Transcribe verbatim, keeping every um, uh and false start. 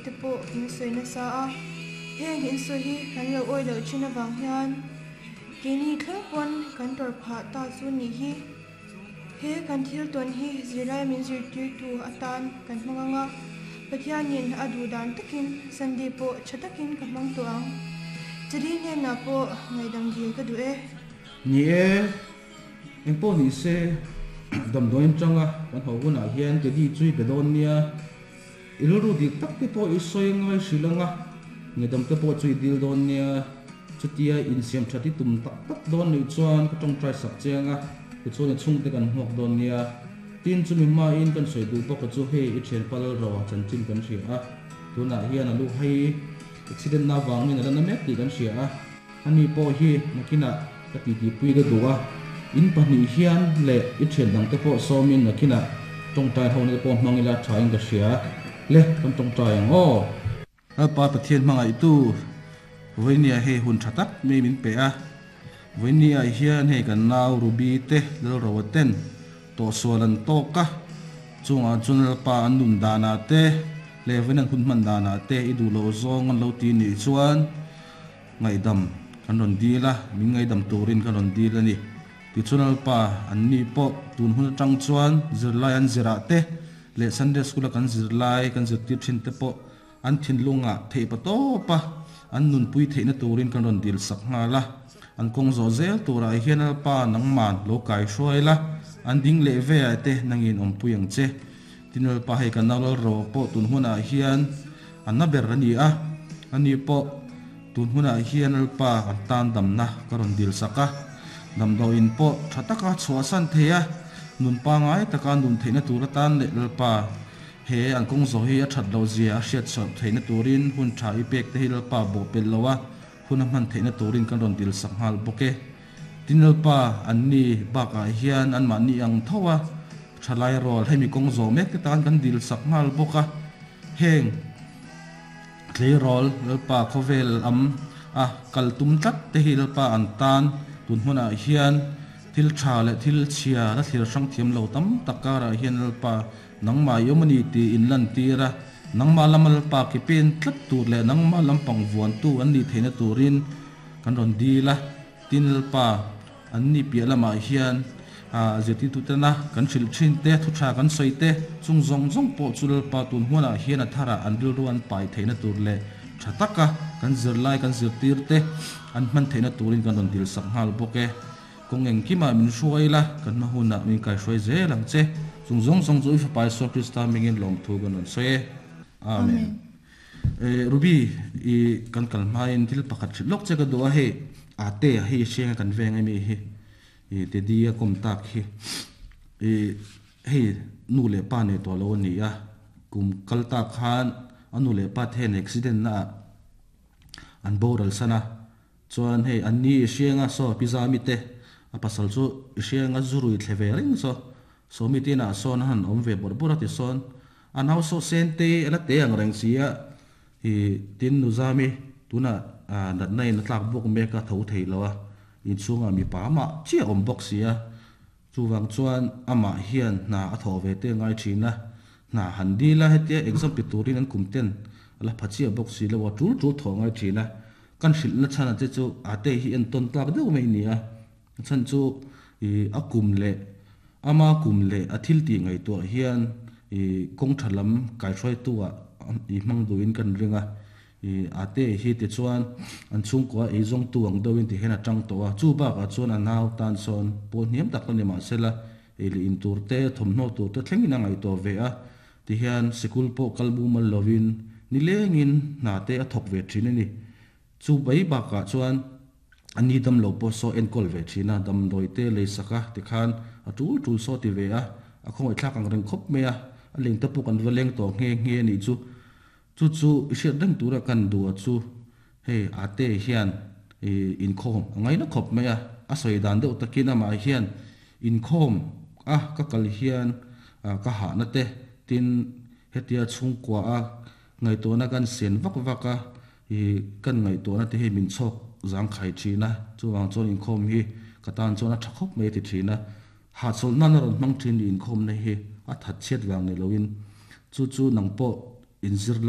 te pawh in sawi nasa a, heng in sawi hi kan lo awih loh thin avang hian keini thleng pawn kan tawrh phah ta chu nih hi. He kan thil tawn hi zirlai min zirtirtu atan kan hmang ang a, Pathianin a duh dan takin Sunday pawh tha takin ka hmang tawh ang. Chadi hnenah pawh ngaihdam dil ka duh e. Ni e, engpawh ni se damdawiin tanga kan ho hunah hian Teddy chu i be dawn nia. I rilru dik tak te pawh i sawi ngai hrilh anga, ngaihdam te pawh chu i dil dawn nia. Chutia insiam that i tum tak tak dawn nih chuan ka tawngtai sak che anga, tichuan i chhungte kan hmuak dawn nia. Tin, chumi hmain kan sawi duh bawk a chu hei i thianpa Lalroa chanchin kan hria a, tunah hian a lu hai accident na avangin a la na mek tih kan hria a, ani pawh hi nakinah ka titipui ka duh a, in pahnih hian leh i thian dangte pawh sawmin nakinah tawngtai ho na te pawh hmang ila thain ka hria le, kan tawngtai ang aw. Lalpa Pathian hmangaihtu Vawinia hei hun tha tak mai min pe a, Vawinia hian hei kan nau Ruby te Lalroa ten tawhsual an tawk a, chungah chuan Lalpa an nun danah te leh vawiin an hun hman danah te i duh loh zawng an lo ti nih chuan ngaihdam kan rawn dil a, min ngaihdam turin kan rawn dil a ni. Tichuan Lalpa an ni pawh tun hun atang chuan zirlai an zirah te leh Sunday School a kan zirlai kan zirtir thin te pawh an thinlungah theih pa tawp a, an nunpui theihna turin kan rawn dil sak nghal a. An kawng zawh zel turah hian Lalpa nangman lo kai hruai la, an ding leh ve ah te nangin awmpui ang che. Tin Lalpa hei kan nau Lalro pawh tun hunah hian a na ber a ni a, ani pawh tun hunah hian Lalpa kan tan damna ka rawn dil sak a, damdawiin pawh tha taka chhuahsan thei a, nun pangai taka nun theihna tur atan leh Lalpa He an kawng zawh hi a that loh zia a hriat chhuah theihna turin hun tha i pek te hi Lalpa bawh pelh lo a, hun a hman theihna turin kan rawn dil sak nghal bawk e. Tin Lalpa an ni bakah hian anmahni ang tho a, thalai rual hemi kawng zawh mek te tan kan dil sak nghal bawk a. Heng tleirawl Lalpa khawvel am a kal tum tlat te hi Lalpa an tan tun hmunah hian thil tha leh thil chhia la thlir hrang thiam lo tam tak karah hian Lalpa Nangmah i awm a ni tih in lantir a, nangmah lama Lalpa ke pen tlat tur leh nangmah lampang vuantu an nih theihna turin kan rawn dil a. Tin, Lalpa, an ni piah lamah hian zirtirtutena kan hrilh thin te, thu tha kan sawi te, chung zawng zawng pawh chu Lalpa tun huanah hian a tharah an rilru an pai theihna tur leh tha taka kan zirlai kan zirtir te an hman theihna turin kan rawn dilsak nghal bawk e. Kawng engkimah min hruai la, kan hma hunah min kaihruai zel ang che. Chung zawng zawng chu i Fapa Isua Krista hmingin lawmthu kan rawn sawi e. Amen. E, Ruby, i kan kal hmain thil pakhat hrilh lawk che ka duh a, hei Ate a hei hrianga kan veng emi hi, i Teddy a kawm tak hi, i hei nu leh pa nei tawh lo a ni a, kum kal tak khan a nu leh pa te hian accident na ah an boral san a, Chuan hei an ni i hrianga saw pizza mite a pasal chu i hrianga zu rui thle ve reng saw saw mite inah sawn a han awm ve bawrh bawrh a ti sawn a nau saw sen te a la te ang reng si a i tin nuzami tunah natna in a tlak bawk mek a tho thei lo a inchhungah mipa amah chiah a awm bawk si a chuvang chuan amah hian hna a thawh ve te ngai thin a hna han dil a hetia exam pe turin an kum ten a la pha chiah bawk si lo a tul tul thawh ngai thin a. Kan hrilhna chhan che chu a te hi entawn tlak deuh mai a ni a, a chhan chu ih a kum leh ama kum leh a thil tih ngaihtuah hian ih kawng tha lam kaihruaitu ah ih hmang duhin kan ring a, ih a te hi tichuan an chhungkua ei zawngtu ang deuhin ti hian a tang tawh a, chu bakah chuan a nau tan sawn pawl hniam tak la ni mahsela ei leh in tur te thawmhnaw tur te thlengin a ngaihtuah ve a, tihian sikul pawh kal mumal lovin nilengin hna te a thawk ve thin a ni. Chu mai bakah chuan a ni dam lo pawh saw enkawl ve thin a, damdawi te lei sak a tikhan a tul tul saw ti ve a, a khawngaihthlak ang reng khawp mai a, a leng te pawh kan va leng tawh nghe nghe a nih chu. Chu chu i hriat reng tura kan duh a chu hei ate hian inkhawm a ngaina khawp mai a, a sawi dan deuh takin amah hian inkhawm a ka kal hian ka hahna te tin hetia chhungkua a ngaihtuahna kan sen vak vak a, i kan ngaihtuahna te hi min chhawk zangkhai thin a, chuvang chuan inkhawm hi ka tan chuan a tha khawp mai a ti thin a, hahchawlh nan a rawn hmang thin i inkhawmna hi a that chhiat vang ni loin chu chu nang pawh inzir la.